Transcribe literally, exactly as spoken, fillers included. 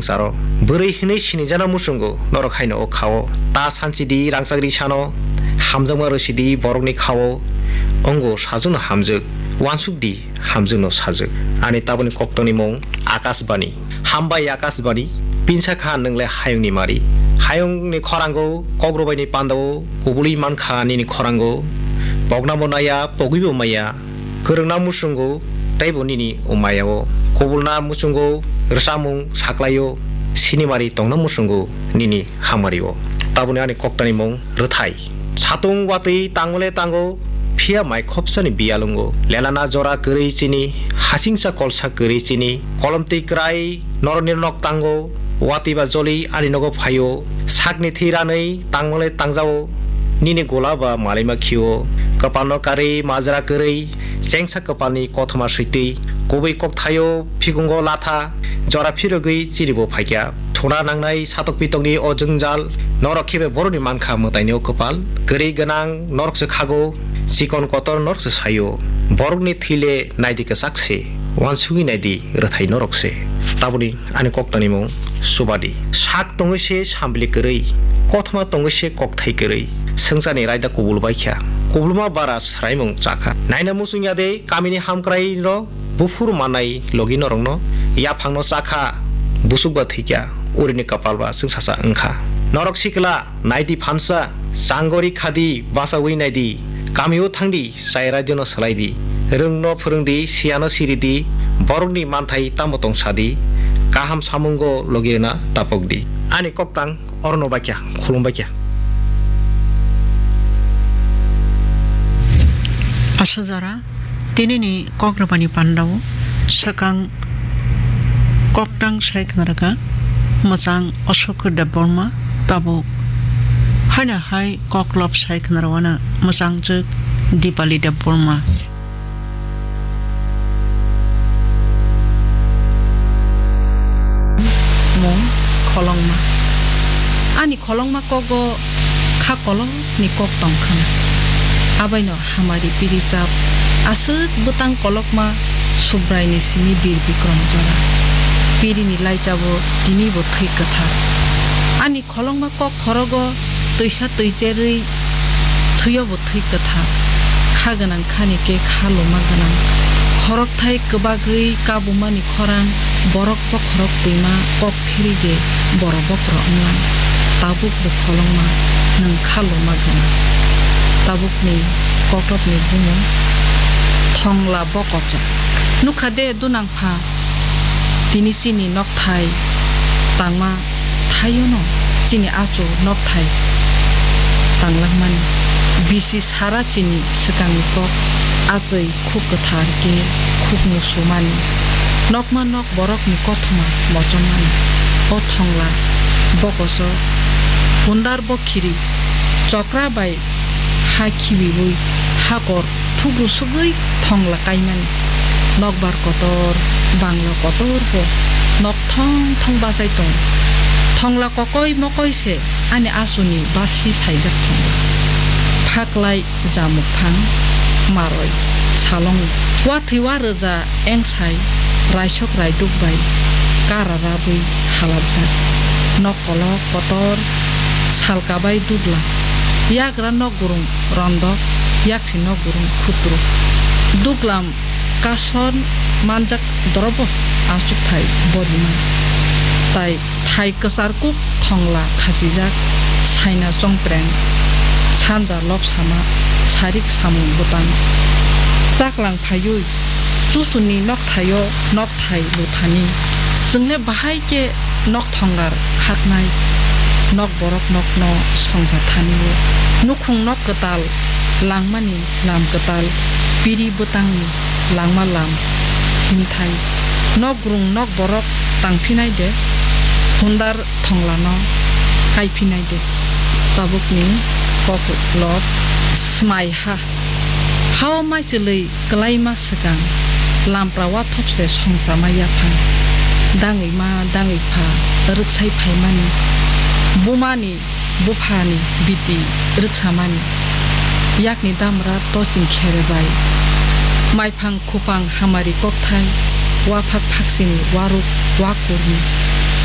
Charo bwrwi hinwi sinijana muchungo norok haino o khao. Ta sanchidi rangchakri sano, hamjakma rwsidi borokni khao. Ongo sajwkno hamjwk, wansukdi hamjwkno sajwk. Ani taboni koktwmani mung Akashbani. Hambai Akashbani, pinsa kha nwng le hayungni mari. Hayungni khorango, kokrwbaini pandao, kubului mankha nini khorango. Poknabo naya, pogwibo maya. Kwrwngna muchungo teibo nini o maya-o, kubulna muchungo rwchapmung saklai-o, sinimari tongna muchungo nini hamari-o. Taboni ani koktwmani mung Rwthai. Satung watwi tangmale tango, phiya mai khopsani biyalwngo. Lelana jora kwrwi chini, hasingsa kolsa kwrwi chini, kolomtwi kwrai norokni nok tango, watwi ba joli ani nogo phaio, sakni thwi ranwi tangmale tangjao, nini gola ba malaima khio, kwpalno karwi majra kwrwi, chengsa kwpalni kothoma switwi, kubui kokthaio phikungo latha, jora phirogwi chiribo phaikha. Thuna nangnai satok pitokni o jwngjal, norok khebe borokni mankha mwtaini o kwpal, kwrwi gwnang norokse khago, chikon kotor norokse saio, borokni thwi le naidi kwchak se, wansugwi naidi rwthai norok se. Taboni ani koktwmani mung Subadi. Sak tongwi se sambli kwrwi, kothoma tongwi se kokthai kwrwi, swngcharni raida kubul baikha. Kubulma bara swraimung chakha. Naina muchung ya de kamini hamkrai no buphuru manai logi norokno. Yaphangno chakha, busuk ba thwikha, urini kapal ba chwngsacha wngkha. Norok sikla, naidi phansa, changori khadi, bachaui naidi, kamio thangdi, chai radio no swlaidi, rwngno phwrwngdi, siyano siridi, borokni manthai tamo tong sadi, kaham samungo logi rwna tapokdi. Ani koktang orono baikha, khulum baikha. Aswk jora, tinini kokrwbani pandao swkang koktang sai khwnarwkha mwchang Ashok Debbarma, tabuk haino hai koklop sai khwnarwkha mwchangjwk Dipali Debbarma. Mung Kholongma. Ani kholongma kogo kha kolokni kok tong khna. Abaino hamari piri chap aswk bwtang kolokma Subraini simi Bir Bikrom jora. Pirini laichabwi tinibo thwi kwthar. Ani kholongma kok khorogo twisa twi cherwi thwiyobo thwi kwthar. Kha gwnang khani khe kha loma gwnang. Khorokthai kwbagwi kabumani khorang borok bokhorok twima kok phiri de borok bokhorok wnglang. Tabuk bo kholongma nwng kha loma gwnang. Tabukni koklopni bumung Thongla Bokochok. Nukha de dunang pha, tini chini nokthai tangma thaiono chini achu nokthai tanglangmani. Bisi sara chini swkangni kok achai khuk kwthar khe khuk musumani. Nokma nok borokni kothoma mochomani. O Thongla Bokochok hundar bokhiri chokra bai ha khibiwi hakor thugru sugwi Thongla kaimani. Nokbar kotor, bangla kotor bo nok thong thong bachai tong. Thongla kokoi mokoi se ani asuni basi saijak Thongla. Phaklai jamuk phang maroi salongo. Wathwi wa rwja engsai raisok raiduk bai kara rabwi halapjak. Nok kolok kotor sal kabai duglam. Yagra nok gurung rondok, yaksi nok gurung khutru. Duglam kason manjak dorobo achukthai borima. Tai thai kwchar kuk Thongla khasijak, saina chongpreng, sanja lobsama, sarik samung bwtang. Chaklang phaiwi chusuni nokthaio nokthai luthani. Chwngle bahai khe nok thonglar khaknai, nok borok nokno songsa thani-o. Nukhung nok kwtal langmani lam kwtal, piri bwtangni langma lam himthai. Nok grung nok borok tangphinai de, hundar thonglano kaiphinai de. Tabukni koklop smai ha. Hao maichwlwi kwlaima swkang lampra wathopse songchama yaphang. Dangwi ma dangwi pha rwksai phaimani, bumani buphani biti rwksamani, yakni damra toching khere bai. Maiphang khupang hamari kokthai, waphak phaksini waruk wakurni